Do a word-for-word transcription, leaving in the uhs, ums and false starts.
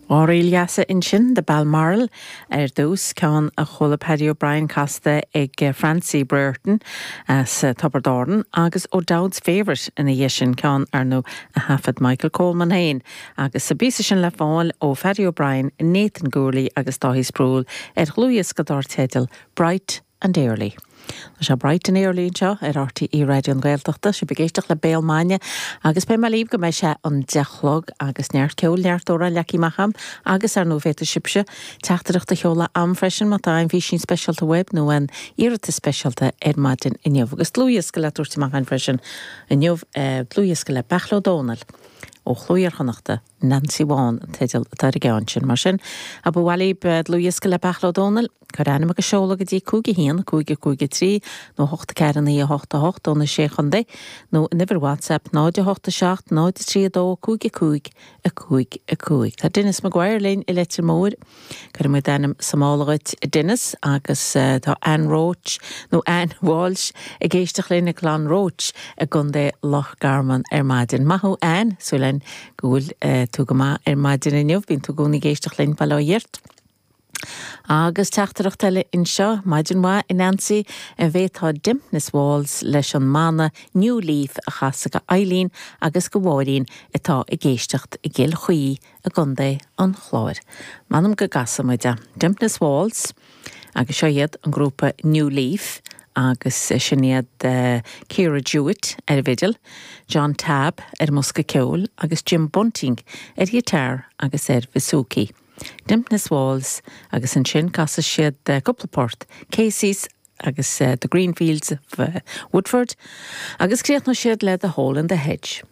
Dhá ríl dheasa ansin The Balmoral ar dtús ceann a chuala Paddy O'Brien casta ag Francie Brereton as Tiobraid Árann agus O'Dowd's Favourite ina dhiaidh sin ceann ar ndóigh a thaifead Michael Coleman féin agus sa bpíosa sin le fáil ó Paddy O'Brien, Nathan Gourley agus Dáithí Sproule ar dhlúthdhiosca dar teideal Bright and Early. Tá sé bright and early anseo ar RTÉ Raidió na Gaeltachta, sibh ag éisteacht le Béal Maidine agus beidh mé libh go mbeidh sé an deich a chlog agus neart ceoil neart amhrán leagtha amach agam agus ar ndóigh féadfaidh sibhse teachtaireacht a sheoladh chugam freisin má tá aon fhísín speisialta uaibh nó aon iarratas speisialta ar maidin inniu agus dlúthdhiosca le tabhairt amach againn freisin inniu dlúthdhiosca le Beairtle Ó Domhnaill ó Chló Iar-Chonnachta Nancy Bhán an teideal atá ar an gceann sin mar sin a ba mhaith libh dlúthdhiosca le Beairtle Ó Domhnaill Cuir ainm agus seoladh go dtí cúig a haon cúig cúig trí nó hocht ceathair naoi hocht a hocht ó na sé chontae nó an uimhir WhatsApp náid a hocht a seacht náid trí dó cúig cúig a cúig a cúig. Tá Dennis Maguire linn i Leitir Móir Cuirfidh muid d'ainm sa mála dhuit Dennis agus uh, tá Ann Roach nó Ann Walsh ag éisteacht linn i gClann Roach i gContae Loch Garman ar maidin. Maith thú Ann súil againn go bhfuil uh, tú go maith ar maidin inniu, bíonn tú i gcónaí ag éisteacht linn Baile Átha Fhirt. Agus teachtaireacht eile anseo maidin mhaith a Nancy an bhféadfá Dympna's Waltz leis an mbanna New Leaf a chasadh do Eileen agus do Mháirín atá ag éisteacht i gCill Chaoi i gContae an Chláir. M'anam go gcasfaidh muid é. Dympna's Waltz agus seo iad an grúpa New Leaf agus sin iad uh, Ciara Jewett ar an bhfidil, John Tabb ar bhosca ceoil agus Jim Bunting ar ghiotár agus ar bouzouki. Dympna's Waltz agus ansin casfaidh siad uh, cúpla port, Casey's agus uh, the Greenfields of uh, Woodford, agus críochnóidh siad le the Hole in the Hedge.